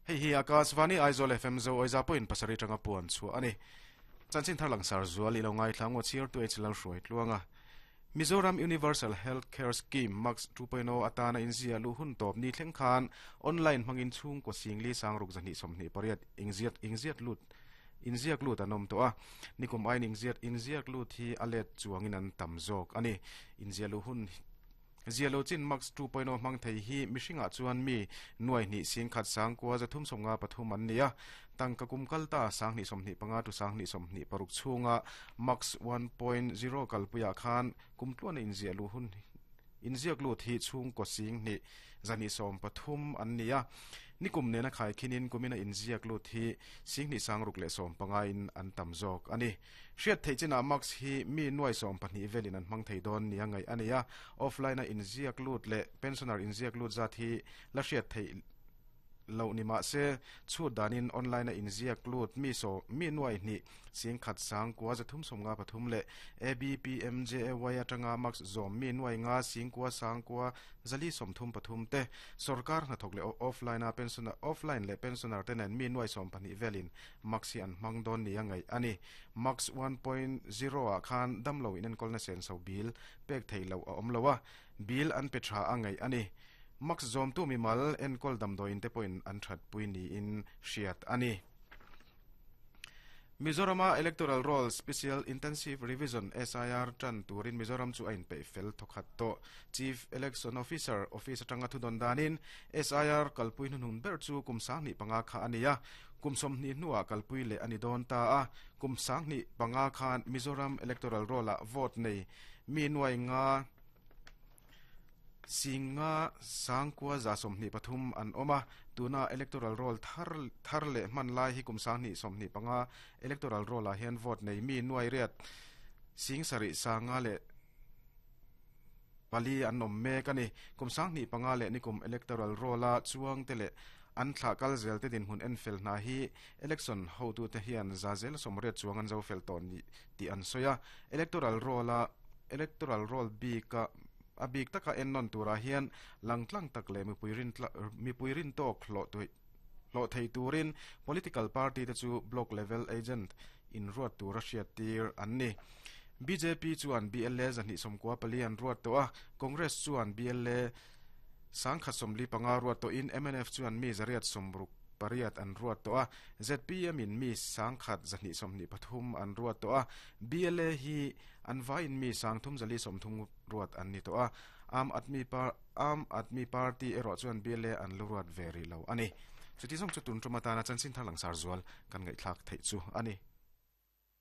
Hei hi Akashvani Aizawl FM Zo Oiza pawhin pasarih tanga puan chhuah a ni. Chanchin thar langsar zual i lo ngaithla ngaw chhiartu H Lalhruai Tluanga. Mizoram Universal Health Care Scheme, MACS 2.0, atana inzia luh hun tawp ni thleng khan online hmangin chhungkaw singli sangruk 228 ingziat ingziat lut inziak lut an awm tawh a. Nikum aiin ingziat inziak lut hi a let chuangin an tam zawk a ni. Inzia luh hun Zia lo chin Max 2.0 hmang thei hi mihringah chuan mi nuai hnih singkhat sangkua 353 an ni a. Tangka kum kal ta 2025 to 2026 chhunga Max 1.0 kalpuiah khan kum tluana inziah luh hun inziak lut hi chhungkaw sing hnih 213 an ni a. Nikum nena khaikhinin kumina inziak lut hi sing hnih sangruk leh 15 in an tam zawk a ni. Hriat theih chinah Max hi mi nuai 12 velin an hmang thei dawn nia ngaih a nei a, offline-a inziak lut leh pensioner inziak lut zat hi la hriat theih loh ni mah se, chhut danin online-a inziak lut mi saw mi nuai hnih singkhat sangkua 353 leh ABPMJAY atanga Max zawm mi nuai nga singkua sangkua 433 te sorkar hnathawk leh offline-a pensioner offline leh pensioner te nen mi nuai 12 velin Max hi an hmang dawn nia ngaih a ni. Max 1.0 ah khan damlo inenkawlna senso bill pek theih loh a awm lo a, bill an pe tha a ngaih a ni. Max zawmtu mimal enkawl damdawiin te pawhin an thatpui niin hriat a ni. Mizorama Electoral Roll Special Intensive Revision, SIR, tan turin Mizoram chu a inpeih fel thawkhat tawh. Chief Election Officer office atanga thudawn danin SIR kalpui hnuhnun ber chu kum 25 kha a ni a, Kum 20 hnuah kalpui leh a ni dawn ta a, kum 25 khan Mizoram Electoral Roll-ah vote nei mi nuai nga singa sangkua 123 an awm a, tuna Electoral Roll thar thar leh hman lai hi kum 2025 Electoral Roll-ah hian vote nei mi nuai riat sing sarih sanga leh pali an awm mek a ni. Kum 25 leh nikum Electoral Roll-a chuangte leh an thlah kal zel te dinhmun en fel hna hi election hotute hian za zel 80 chuang an zo fel tawh ni tih an sawi a. Electoral Roll-a Electoral Roll bika a bik taka en nawn turah hian langtlang tak leh mipui rin mipui rin tawk hlawh hlawh thei turin political party te chu block level agent inruat tura hriat tir an ni. BJP chuan BLA 294 an ruat tawh a, Congress chuan BLA 145 ruat tawhin MNF chuan mi 868 an ruat tawh a, ZPM in mi 1,123 an ruat tawh a, BLA hi an vaiin mi 3,030 ruat an ni tawh a, Aam Aadmi Aam Aadmi Party erawh chuan BLA an lu ruat ve rih lo a ni. Chuti zawng chu tun tum atana chanchin thar langsar zual kan ngaihthlak theih chu a ni.